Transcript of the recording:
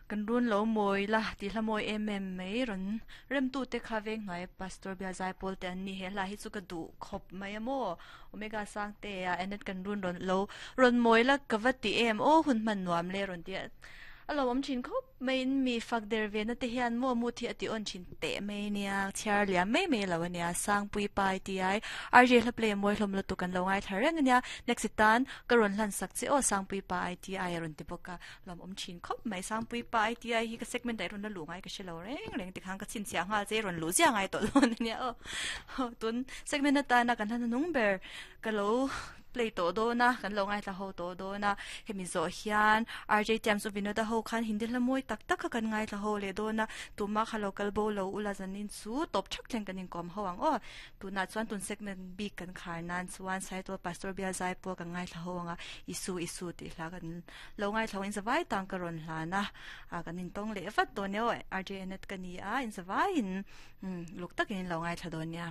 Kan run lo mawi la tih hla mawi em em mai rawn remtute kha veng hnuai Pastor Bia Zaipawl te an ni he hla hi chu ka duh khawp mai a maw Omega Sangte a Annette kan run rawn lo rawn mawi la ka va ti em aw hun hman nuam le rawn ti a a lo awm thin khawp mai in mi fak der ve na te hian maw mut hi a ti awn thin teh mai nia chhiar liam mai mai lo ania Sangpui pai ti ai RJ hla play a mawi hlawm lutuk kan lo ngaithla reng ania next tan ka rawn hlan sak che aw Sangpui pa ai ti ai a rawn ti bawk a. Lawm awm thin khawp mai Sangpui pa ITI hi ka segment ah i rawn la luh ngai ka hre lo reng reng tikhan ka chhinchhiah nghal che i rawn luh ziah ngai tawh dawn ania aw tun segment atana kan hla hnung ber ka lo play tawh dawn a kan lo ngaithla ho tawh dawn a hemi zawh hian RJ Tiams u Vinoda ho khan Hindi hla mawi tak tak kha kan ngaithla ho leh dawn a tuma kha lo kal bo lo ula zanin chu tawp thak thleng kan inkawm ho ang aw tunah chuan tun segment bik kan khar nan chuan Saitual Pastor Bial Zai pawh kan ngaithla ho ang a Isu Isu tih hla kan Lo ngaithlo in zavai tang ka rawn hlan a, a kan intawng leh vat dawn nia aw, RJ Annette ka ni a, in zavaiin luk takin in lo ngaithla dawn nia.